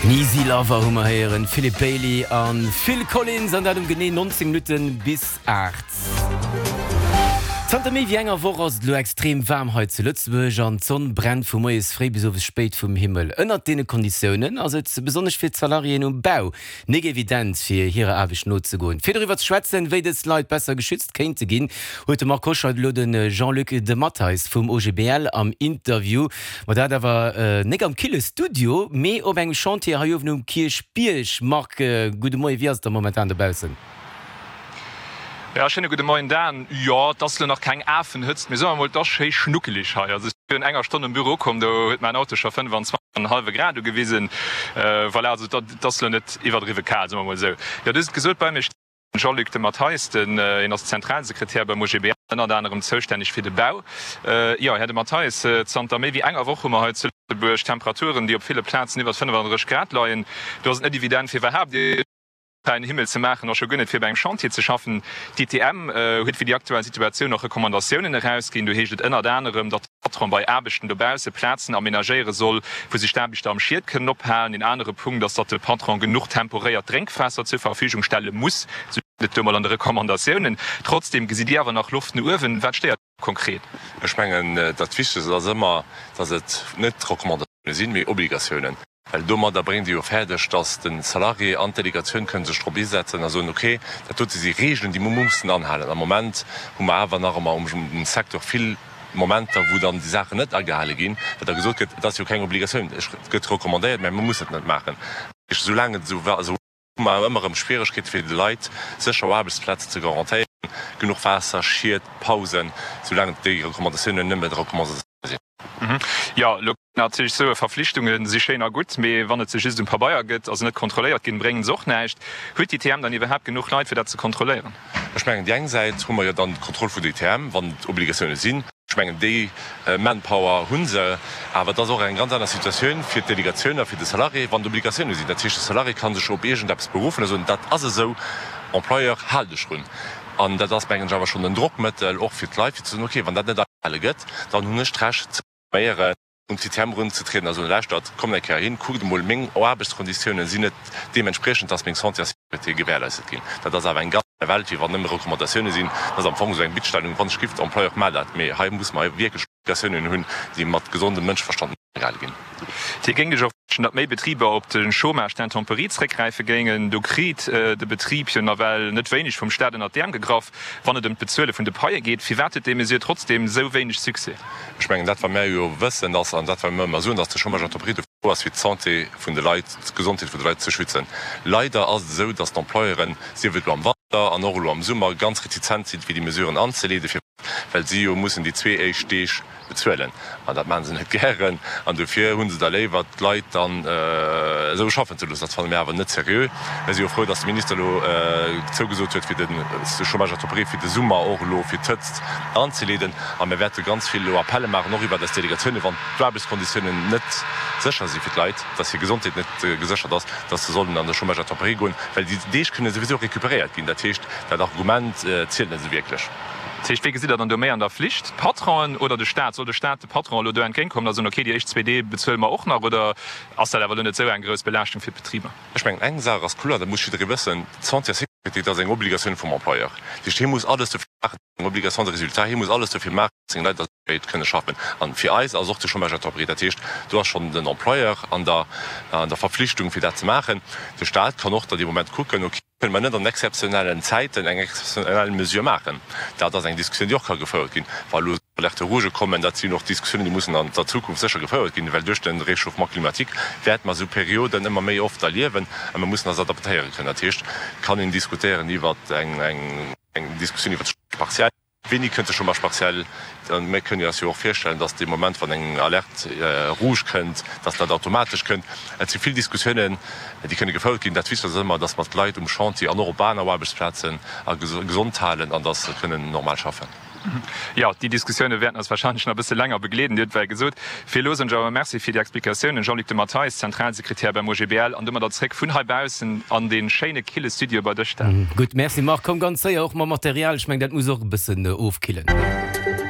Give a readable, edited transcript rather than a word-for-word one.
Den Easy Lover hu mer héieren, Philip Bailey a Phil Collins, an dat um genee 19 Minutte bis 8. Zanter méi wéi enger Woch ass et elo extrem waarm hei zu Lëtzebuerg an d'Sonn brennt vu moies fréi bis owes spéit vum Himmel. Ënnert deene Konditiounen ass et besonnesch fir d'Salariéen um Bau nik evident fir hirer Aarbecht nozegoen. Fir doriwwer ze schwätzen, wéi dës Leit besser geschützt kéinte ginn, huet de Marc Hoscheid elo de Jean-Luc De Matteis vum OGBL am Interview. Ma dat awer nik am kille Studio, mee op engem Chantier hei uewen um Kierchbierg. Marc, gudde Moien, wéi ass et da momentan dobaussen? Jo, schéine gudde Moien Dan. Jo, et ass lo nach keng Afenhëtzt, mee soe mer mol, et ass schéi schnuckeleg hei. Also ech si virun enger Stonn um Büro ukomm, do huet mäin Auto scho 25 an en hallwe Grad ugewisen. Voilà, also et ass lo net iwwerdriwwe kal, soe mer mol esou. Jo, du hues et gesot, bei mir steet den Jean-Luc de Matteis, den hien ass Zentralsekretär beim OGBL, ënnert anerem zoustänneg fir de Bau. Jo, Här de Matteis, zanter méi wéi enger Woch hu mer hei zu Lëtzebuerg Temperaturen, déi op ville Plazen iwwer 35 Grad leien. Do ass et net evident fir iwwerhaapt ee fräien Himmel ze maachen a scho guer net fir bei engem Chantier ze schaffen. D'ITM huet fir déi aktuell Situatioun och Recommandatiounen erausginn. Do heescht et ënnert anerem, datt de Patron bei Aarbechten dobausse Plazen amenagéiere soll, wou sech d'Aarbechter am Schiet kënnen ophalen. Een anere Punkt ass, datt de Patron genuch temporéiert Drénkwaasser zur Verfügung stelle muss, sou steet et do mol an de Recommandatiounen. Trotzdeem gesitt Dir awer nach Loft no uewen. Wat stéiert konkret? Ech mengen, dat Wichtegst ass ëmmer, datt et net Recommandatioune sinn, mee Obligatiounen. Well domadder bréngt Dir jo fäerdeg, datt de Salarié an d'Delegatioun kënne sech drop isetzen a soen, okay, dat dote si Regeln, déi mer mussen anhalen. Am Moment hu mer awer nach ëmmer um Secteur vill Momenter, wou dann déi Saachen net agehale ginn, well da gesot gëtt, et ass jo keng Obligatioun, et gëtt recommandéiert, mä mer mussen et net maachen. Soulaang et esou hu mer ëmmer erëm Schwieregkeete fir de Leit sécher Aarbechtsplazen ze garantéieren, genuch Waasser, Schied, Pausen, soulaang déi Recommandatiounen nëmme Recommandatioune sinn. Jo, elo natierlech soe Verflichtunge si schéin a gutt, mee wann et se just um Pabeier gëtt a se net kontrolléiert ginn, bréngen se och näischt. Huet d'ITM dann iwwerhaapt genuch Leit, fir dat ze kontrolléieren? Ech mengen, déi eng Säit hu mer jo dann d'Kontroll vun der ITM, wann et Obligatioune sinn. Ech mengen, déi Manpower hu se. Awer et ass och eng ganz aner Situatioun fir d'Delegatioun a fir de Salarié, wann et Obligatioune sinn. Dat heescht, de Salarié ka sech op iergendeppes beruffen a soen, dat ass esou, Employeur, hal dech drun. An dat ass, mengen ech, awer schonn en Drockmëttel och fir d'Leit, fir ze soen, okay, wann dat net agehale gëtt, dann hunn ech d'Recht ze reklaméieren, un d'ITM erunzetrieden a soen, lauschtert, kommt eng Kéier hin, kuckt emol, meng Aarbechtskonditiounen sinn net deementspriechend, dass meng Santé a Sécurité gewährleistet ginn. Dat ass awer eng ganz aner Welt, wéi wann nëmme Recommandatiounen sinn. Dat ass am Fong esou eng Bittstellung, wann ech giff, Employeur, maach dat. Mee hei muss mer wierklech Obligatiounen hunn, déi mat gesondem Mënscheverstand agehale ginn. Dir géingt Iech och wënschen, datt méi Betriber op de Chômage d'intempéries zréckgräife géingen. Do kritt de Betrib jo nawell net wéineg vum Staat ënnert d'Äerm gegraff, wann et ëm d'Bezuele vun de Paie geet. Firwat huet déi Mesure trotzdeem esou wéineg Succès? Ech mengen, dat wat mär jo wëssen ass, an dat wat mir ëmmer soen, datt de Chômage d'intempéries dofir do ass, fir d'Santé vun de Leit, d'Gesondheet vun de Leit ze schützen. Leider ass et esou, datt d'Employeuren, sief et elo am Wanter an och elo am Summer, ganz retizent sinn, fir déi Mesuren anzeleeden. Firwat? Well si jo mussen déi zwee éischt Deeg bezuelen an dat maache se net gären an dofir hu se da léiwer d'Leit dann esou schaffen ze loossen. Dat fanne mir awer net seriö. Mir si jo frou, datt de Minister elo zougesot huet, fir de Chômage temporaire fir de Summer och elo fir d'Hëtzt anzeleeden a mir wäerte ganz vill elo Appelle maachen, och iwwert eis Delegatiounen, wann d'Aarbechtskonditiounen net sécher si fir d'Leit, datt hir Gesondheet net geséchert ass, datt se sollen an de Chômage temporaire goen, well déi Deeg kënne souwisou recuperéiert ginn. Dat heescht, dat Argument zielt net esou wierklech. Dat heescht, wee gesitt Der dann do méi an der Flicht, d'Patronen oder de Staat? Soll de Staat de Patronen elo do entgéintkommen a soen, okay, déi éischt zwee Dee bezuele mer och nach, oder ass dat awer elo net esou eng grouss Belaaschtung fir d'Betriber? Ech mengen, eng Saach ass kloer, dat muss jidderee wëssen, D'Santé a Sécurité, dat ass eng Obligatioun vum Employeur. Dat heescht, hie muss alles dofir maachen, eng Obligation de résultat, hie muss alles dofir maachen, datt seng Leit a Sécherheet kënne schaffen. An fir eis ass och de Chômage intempéré. Dat heescht, do ass schonn den Employeur an der an der Verpflichtung, fir dat ze maachen. De Staat kann och da dee Moment kucken, okay, Kënne mer net an exzeptionellen Zäiten eng exzeptionell Mesure maachen? Dat ass eng Diskussioun, déi och ka gefouert ginn, wa elo Alerte rouge kommen. Dat sinn och Diskussiounen, déi mussen an der Zukunft sécher gefouert ginn, well duerch de Réchauffement climatique wäerte mer esou Perioden ëmmer méi oft erliewen a mir mussen eis adaptéiere kënnen. Dat heescht, et kann een diskutéieren iwwer eng Diskussioun iwwer de Chômage partiel. Wéini kënnt de Chômage partiel? Mir kënnen eis jo och virstellen, datt dee Moment, wann eng Alerte rouge kënnt, datt dat automatesch kënnt. Et si vill Diskussiounen, déi kënne gefouert ginn. Dat Wichtegst ass ëmmer, datt mer d'Leit um Chantier an och op aner Aarbechtsplazen a gesond halen an datt se kënnen normal schaffen. Jo, déi Diskussioune wäerten eis warscheinlech nach e bësse länger begleeden. Dir hutt well gesot. Fir elo soen ech awer Merci fir déi Explikatiounen, Jean-Luc De Matteis, Zentralsekretär beim OGBL, an domadder zréck vun heibaussen an dee schéine kille Studio bei dech, Dan. Gutt, Merci Marc. Komm ganz séier och mam Material, ech mengen dat muss och e bëssen ofkillen.